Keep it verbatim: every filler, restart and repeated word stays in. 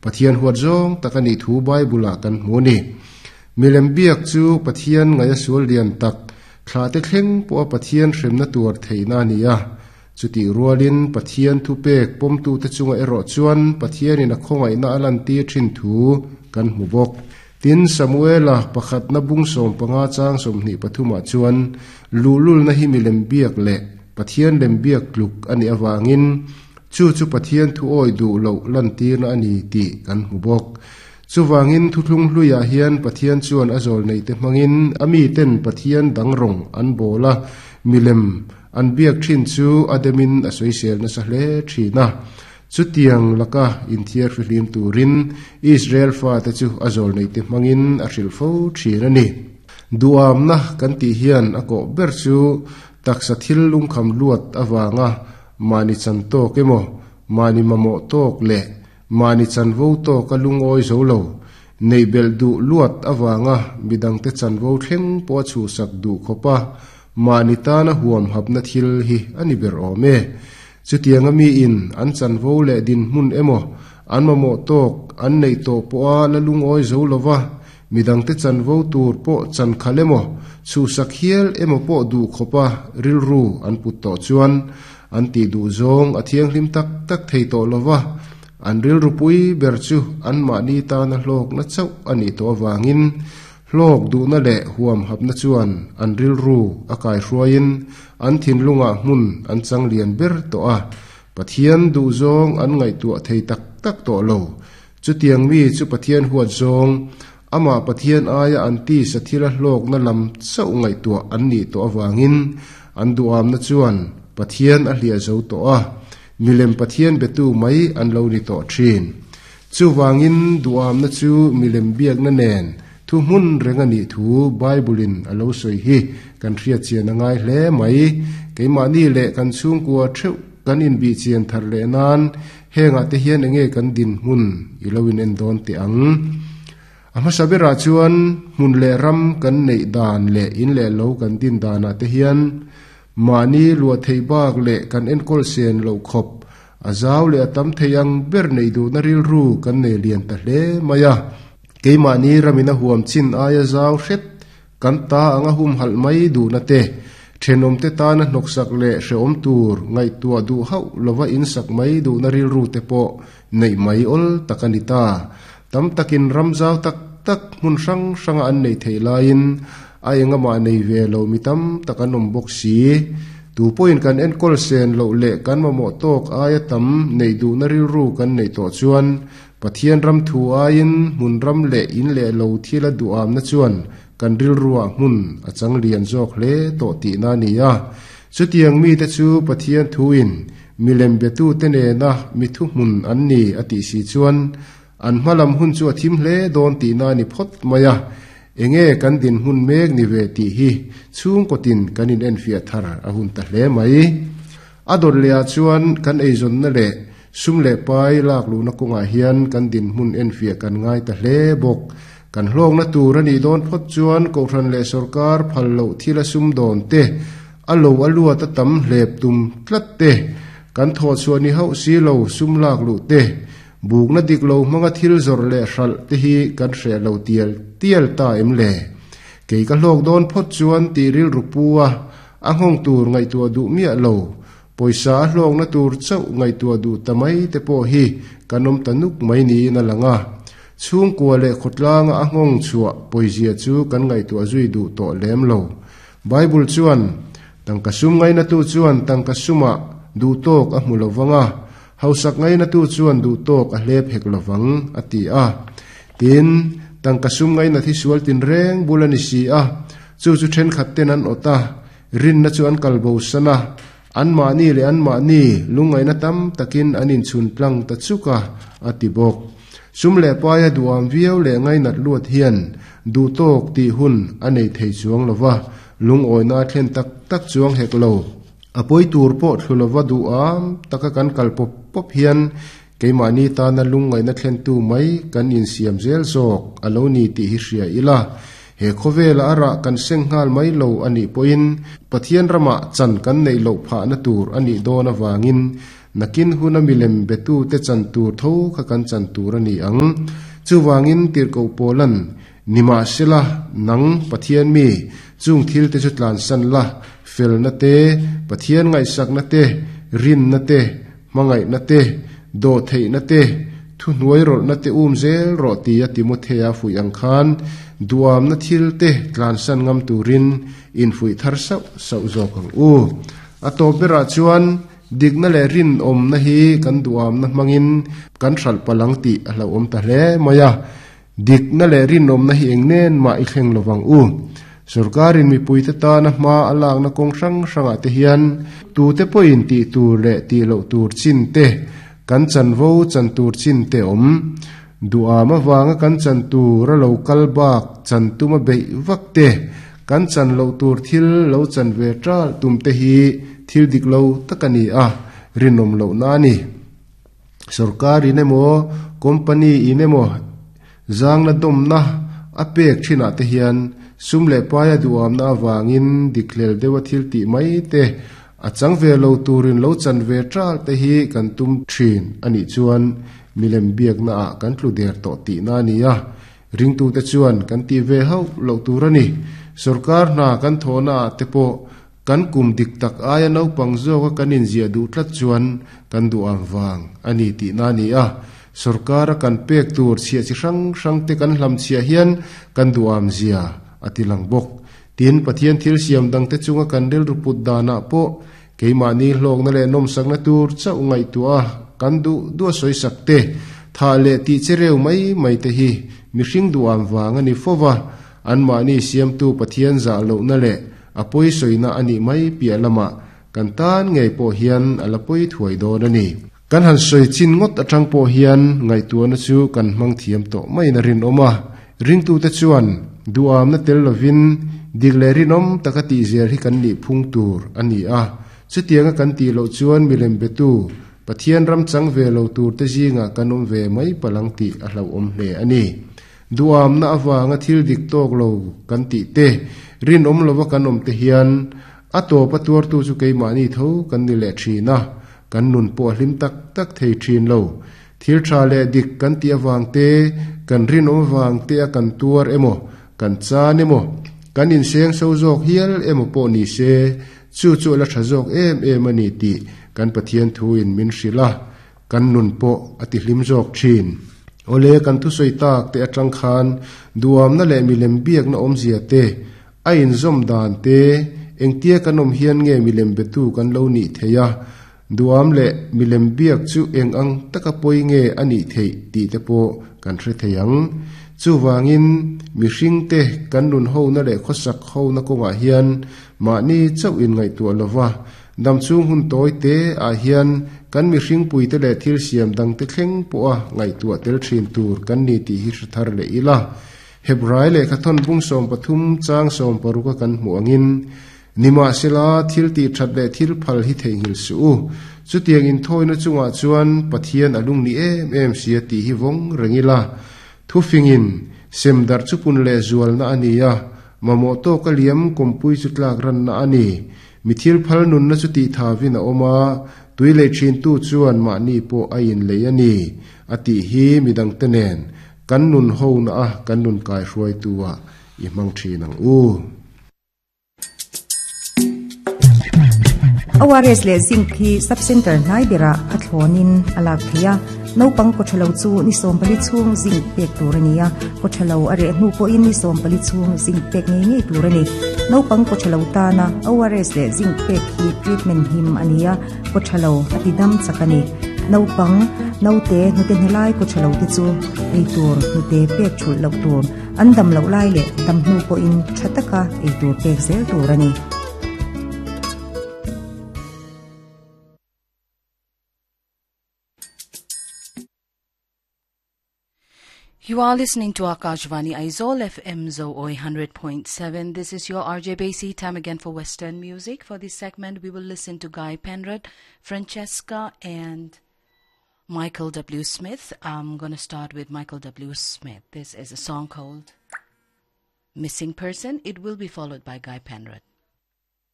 Pathian huat zawng tak ani thu Bible ah kan hmu ni. Milem biak chu Pathian ngaia sual lian tak thla te thleng pawh Pathian hremna tur theihna ani a. Chuti rualin Pathian thu pek pawmtu te chunga erawh chuan Pathianin a khawngaihna a lan tir thin thu kan hmu bawk. Tin Samuela pakhat na bung sawm panga chang sawmhnih pathumah chuan luhlul na hi milem biak leh Pathian lem biak tluk ani awangin chu chu Pathian thu awi duh lo lan tirna ani tih kan hmu bawk. Chuwangin thuthlung hluiah hian Pathian chuan a zawl nei te hmangin ami ten Pathian dang rawng an bawla milem an biak thin chu ademin a sawisel nasa hle thina. Chutiang laka inthiar fihlim turin Israel fa te chu a zawl nei te hmangin a hrilh fo thin ani. Duamna kan tih hian a kawh ber chu taksa thil lungkham luat awanga mani chan tawk emaw mani mamawh tawk leh mani chanvo tawk a lungawi zo lo nei bel duh luat awanga midang te chanvo thleng pawh a chhuhsak duh khawpa mani tana huam hapna thil hi ani ber awm e. Chutiang ami in an chanvo leh din hmun emaw an mamawh tawk an nei tawh pawh a la lungawi zo lova midang te chanvo tur pawh chan khal emaw chhuhsak hial emaw pawh duh khawpa rilru an put tawh chuan an ti duh zawng a thianghlim tak tak thei tawh lova an rilru pui ber chu an mahni tana hlawk na chauh ani tawh awangin hlawk duhna leh huam hapna chuan an rilru a kai hruaiin an thinlungah hmun an chang lian ber tawh a. Pathian duh zawng an ngaihtuah thei tak tak tawh lo. Chutiang mi chu Pathian huat zawng ama Pathian aia an ti sathila hlawk na lam chauh ngaihtuah an ni tawh awangin an duamna chuan Pathian a hliah zo tawh a. Milem Pathian betu mai an lo ni tawh thin. Chuwangin duamna chu milem biakna nen thu hmun reng ani thu Bible in a lo sawi hi kan hriat chian a ngai hle mai. Keimahni leh kan chhungkua theuh kan inbih chian thar leh nan hengah te hian enge kan din hmun i lo in en dawn teh ang. A hmasa berah chuan hmun leh ram kan neih dan leh in leh lo kan din danah te hian mani lua thei bak leh kan enkawl sen lo khawp a zau leh a tam thei ang ber nei duhna rilru kan nei lian ta hle mai a. Keimahni ramina huam chin aia zau hret kan ta anga hum halh mai duhna te thenawm te tana hnawksak leh hrehawm tur ngaihtuah duh hauh lova insak mai duhna rilru te pawh neih mai awl tak ani ta. Tam takin ram zau tak tak hmun hrang hranga an nei thei laiin a engama nei ve lo mi tam tak an awm bawk si. Tu pawhin kan enkawl sen loh leh kan mamawh tawk aia tam nei duhna rilru kan nei tawh chuan Pathian ram thu aiin hmun ram leh in leh lo thil a duamna chuan kan rilruah hmun a chang lian zawk hle tawh tihna ani a. Chutiang mi te chu Pathian thuin milem betu te nena mi thu hmun an ni a tih si chuan an hmalam hun chu a thim hle dawn tihna ani phawt mai a. Enge kan din hmun mek ni ve tih hi chhungkawtin kan in en fiah thar a hun ta hle mai. A dawt lehah chuan kan eizawnna leh sum leh pai lak luhna kawngah hian kan din hmun en fiah kan ngai ta hle bawk. Kan hlawkna tur ani dawn phawt chuan kohhran leh sorkar phal loh thil a sum dawn te a lo a luat a tam hlep tum tlat te kan thawh chhuah ni hauh si lo sum lak luh te bukna dik lo hmanga thil zawrh leh hralh te hi kan hreh lo tial tial ta em le. Kei ka hlawk dawn phawt chuan tih rilru pu a a nghawng tur ngaihtuah duh miah lo pawisa a hlawkna tur chauh ngaihtuah duh ta mai te pawh hi kan awm ta nuk mai niin a lang a. Chhungkua leh khawtlanga a nghawng chhuah pawizia chu kan ngaihtuah zui duh tawh lem lo. Bible chuan tangka sum ngaina tu chuan tangka sumah duh tawk a hmu lovanga hausak ngaina tu chuan duh tawk a hlep hek lovang a ti a. Tin tangka sum ngaina thi sual tin reng bul ani si a. Chu chu thenkhat ten an awt a rinna chu an kalbo sana an mahni leh an mahni lungngaihna tam takin an inchhun tlang ta chuka a ti bawk. Sum leh paia duam viau leh ngainat luat hian duh tawk tih hun a nei thei chuang lova lungawina a thlen tak tak chuang hek lo. A pawi tur pawh thlu lova duam taka kan kal pawp pawp hian keimahni tana lungngaihna thlen tu mai kan insiam zel zawk a lo ni tih hi hria ila. He khawvela a rah kan seng nghal mai lo ani pawhin Pathian ramah chan kan nei loh phahna tur ani dawn awangin Nakin huna milem betu te chan tur tho kha kan chan tur ani ang. Chuwangin tirko polan nima sela nang Pathian mi chung thil te chu tlan san la fel na te Pathian ngai sak na te rin na te mangai na te do thei na te thu hnuai rol na te um zel ro ti a Timothea fui ang khan duam na thil te tlan san ngam turin in fui thar sau sau zawk ang u. A to bera chuan digna le rin om na hi kan duam na mangin kan hral palang ti a hlo om ta hle maya. Digna le rin om na hi engnen ma i thleng lowang u. Sarkarin mi puite ta na ma alak na kong hrang hranga te hian tu te poin ti tur le ti lo tur chin te kan chan vo chan tur chin te om duama wanga kan chan tur a lo kal bak chan tuma bei vak te kan chan lo tur thil lo chan ve tral tum te hi thil dik lo takani a rinom lo na ni. Sarkar inemo company inemo zang na dom na a pek thina te hian sum le paia duam na wangin diklel dewa thil ti mai te a chang ve lo turin lo chan ve tral te hi kan tum thin ani chuan milem biak na a kan tlu der to ti na ni a. Ringtu te chuan kan ti ve hau lo tur ani. Sarkar na kan thona te po kan kum dik tak aia no pangzo ka kanin zia du tlat chuan kan du ang wang ani ti na ni a. Sarkar kan pek tur chhia chi hrang hrang te kan hlam chhia hian kan du am zia atilang bok. Tin Pathian thil siam dang te chunga kan rel ruput dana po keima ni hlok na le nom sak na tur chau ngai tu a kan du du soi sak te tha le ti chereu mai mai te hi mi hring du am wang ani fowa an ma ni siam tu Pathian za lo na le apoi soina ani mai pia lama kan tan ngei po hian alapoi thuai don ani. Kan han soi chin ngot atang po hian ngai tu na chu kan mang thiam to mai na rin oma. Ring tu te chuan duam na tel lovin digle rinom takati zel hi kan ni phung tur ani a. Chutianga kan ti lo chuan milem betu Pathian ram chang ve lo tur te zinga kanom ve mai palang ti a hlo om hle ani. Duam na awanga thil dik tok lo kan ti te rin om lova kan om te hian a to patuar tu chu keima ni tho kan ni le thina kan nun po hlim tak tak thei thin lo. Thil tha le dik kan ti awang te kan rin om wang te a kan tuar emo kan chan emo kan in seng so zawk hial emo po ni se chu chu la tha zawk em em ani ti kan Pathian thu in min hrila kan nun po ati hlim zawk thin. Ole kan thu soi tak te atang khan duam na le milem biak na om zia te a in zom dan te engtia kan om hian nge milem betu kan lo ni theya duam le milem biak chu eng ang taka poi nge ani thei ti te po kan hre theiang. Chu wangin mi hring te kan nun ho na le khosak ho na konga hian ma ni chau in ngai tu lova dam chung hun toi te a hian kan mi hring pui te le thil siam dang te thleng po a ngai tu tel thin tur kan ni ti hi thar le ila. Hebrai le khathon bung som pathum chang som paruka kan mu angin nima sela thil ti that le thil phal hi thei hil su chu tiang in thoina chunga chuan Pathian alung ni em em sia ti hi vong rengila. Thu fingin semdar chupun le zual na ania mamo to kaliam kompui chutlak ran na ani mithil phal nun na chu ti thawin a oma tui le thin tu chuan ma ni po a in le ani ati hi midang tenen kan nun ho na a kan nun kai hruai tuwa i mang thin ang u. O R S le zinc hi sub center nai bera athonin alak thia naupang ko thalo chu ni som pali chung zinc pek tur ania ko thalo are hnu po in ni som pali chung zinc pek nge nge tur ani naupang ko thalo ta na O R S le zinc pek hi treatment him ania ko thalo atidam chakani naupang naute nute hnelai ko thalo te chu ei tur nute pek thul lo tur andam lo lai le dam hnu po in thataka ei tur pek zel tur ani. You are listening to Akashvani Aizawl F M Zo Oi one hundred point seven. This is your R J Basi. Time again for Western music. For this segment, we will listen to Guy Penrod, Francesca, and Michael W. Smith. I'm going to start with Michael W. Smith. This is a song called Missing Person. It will be followed by Guy Penrod.